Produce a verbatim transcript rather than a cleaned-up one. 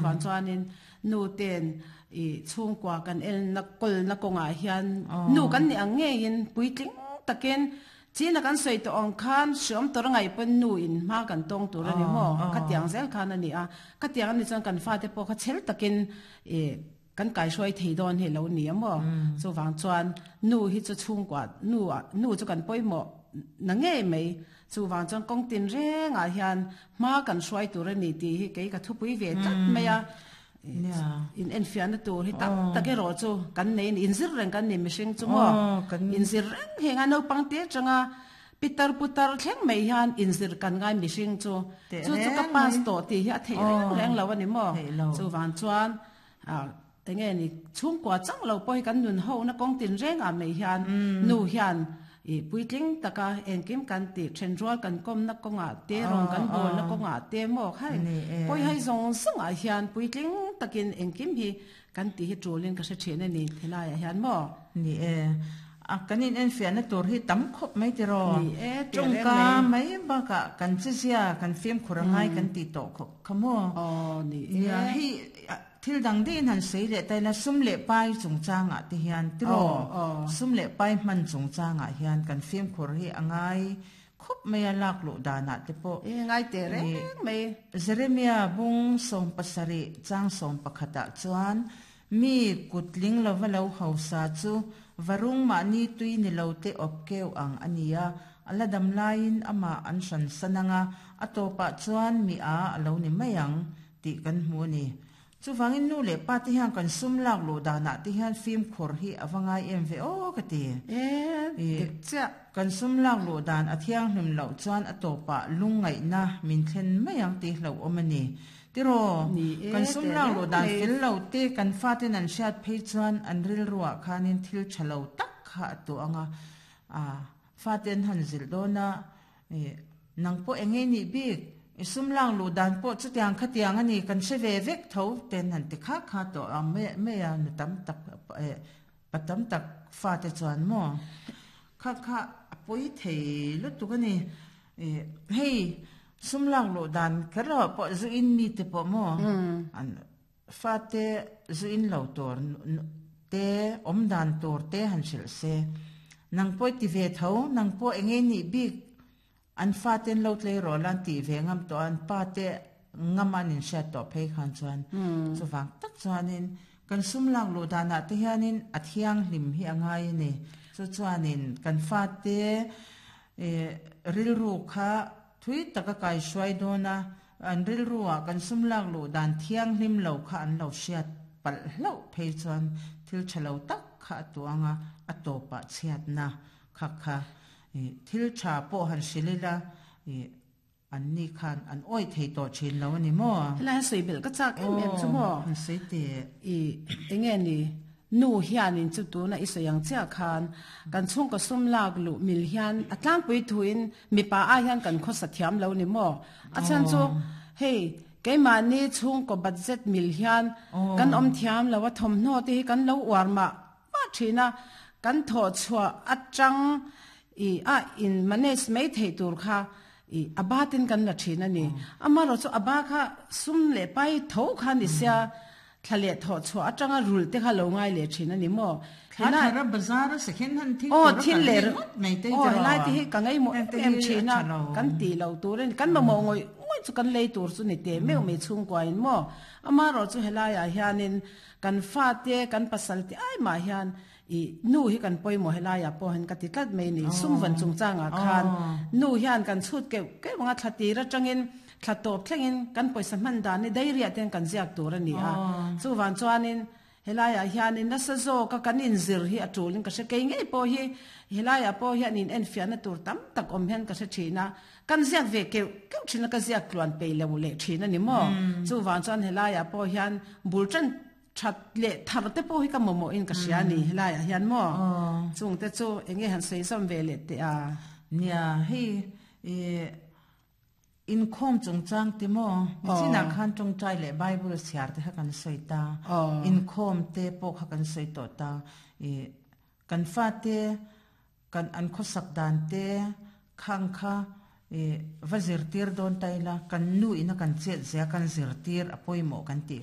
Chuwang chuanin nu ten i chhungkua kan el na kol na kawngah hian nu kan ni ang ngeiin puitling takin china kan sawi tawh ang khan hriawm tawr ngai pawn nu in hma kan tawng tur ani maw khatiang zel khan ani a khatiang ani chuan kan fate pawh kha chhel takin e kan kai hruai thei dawn hi lo ni a maw chuwang chuan nu hi chu chhungkua nu nu chu kan pawimawh na ngei mai chuwang chuan kawng tin rengah hian hma kan hruai tur ani tih hi kei ka thupui ve tlat mai a in en fian tur hi tak tak ero chu kan nei in zir reng kan ni mihring chu maw in zir reng henga naupang te changa pitar putar thleng mai hian in zir kan ngai mihring chu chu chu ka pass to ti hi a thei reng reng lo ani maw chuwang chuan a enge ni chhungkua chang lo pawh hi kan nun ho na kawng tin reng a mai hian nu hian i puitling taka engkim kan ti then rual kan kom na kawnga te rong kan bol na kawnga te maw khai poi hai zong zong ah hian puitling takin engkim hi kan ti hi tulin ka hre then ani thelai ah hian maw ni e a kanin en fian na tur hi tam khop mai ti ro ni e tongka mai baka kan chizia kan film khurangai kan ti to kho khamo o ni e hi thil dang din han sei le tai la sum le pai chung changa ti hian tiro sum le pai man chung changa hian kan film khur hi angai khop mai lak lu dana te po e ngai te reng mai Jeremia bung som pasari chang som pakhata chuan mi kutling lova lo hausa chu varung ma ni tui ni lo te opkeu ang ania ala dam lain ama an san sananga atopa chuan mi a alo ni mayang ti kan hmu ni chu wangin nu le pa ti hian kan sum lak lu dana ti hian film khur hi awangai em ve o ka ti e dik cha kan sum lak lu dan a thiang hlum lo chuan atopa lungai na min thlen mayang ti hlo omani tiro kan sum lak lu dan fel lo te kan fa ten an hriat phei chuan an ril ruwa khanin thil thalo tak kha tu anga a fa ten han zil dona e nangpo enge ni bik sum lang lu dan po chu tiang kha tiang ani kan se ve vek tho ten han ti kha kha to a me me ya nu tam tak e patam tak fa te chuan mo kha kha pui thei lu tu ka ni e hei sum lang lu dan kha po zu in mi te po mo an fa te zu in lo tor te om dan tor te han sil se nang poi ti ve tho nang po enge ni bik an fa ten lo tle ro lan ti ve ngam to an pa te ngam an in sha to phei khan chuan chu wang tak chuanin kan sum lang lu dana te hianin a thiang hlim hi angai ni chu chuanin kan fa te e ril ru kha thui taka kai shuai dona an ril ruwa kan sum lang lu dan thiang hlim lo kha an lo hriat pal hlo phei chuan thil thalo tak kha tuanga atopa chhiat na kha kha thil tha po han silila an ni khan an oi thei to chin lo ani mo la sui bel ka chak em em chu mo han sei te i enge ni nu hian in chu tu na isoyang cha khan kan chung ka sum lak lu mil hian atlang pui thuin mi pa a hian kan kho sathiam lo ni mo a chan chu hei keima ni chung ko budget mil hian kan om thiam lo wa thom no te kan lo war ma ma thina kan tho chua atang i a in manage mai thei tur kha i abatin kan la thina ni amaro chu aba kha sum le pai tho kha ni sia thlale tho chu atanga rul te kha lo ngai le thina ni mo thana ra bazar se khen han thi o thil le mai te o lai ti ka ngai mo em thina kan ti lo turin kan mo mo ngoi ngoi chu kan lei tur chu ni te meu me chung kwa in mo amaro chu helaya hianin kan fa te kan pasal te ai ma hian i nu hi kan poi mo helaya po han ka ti tlat mai ni sum van chung changa khan nu hian kan chut ke ke wanga thlati ra tangin thlatop thlengin kan poisa man dan ni dairia ten kan ziak tur ani a chu wan chuanin helaya hianin na sa zo ka kan in zir hi atulin ka se ke ngei po hi helaya po hian in en fiana tur tam tak om hian ka se thina kan ziak ve ke ke thina ka ziak tluan pe lo le thina ni mo chu wan chuan helaya po hian bulchan that le thar te po hi ka momo in ka sia ni helaya hian mo chung te chu enge han sei som ve le te a nia hi e in khom chung chang ti mo china khan chung chai le bible siar te kan sei ta in khom te po kha kan sei to ta e kan fa te kan an kho sak dan te khang kha e vazir tir don taila kan nu ina kan chet zia kan zir tir apoi mo kan ti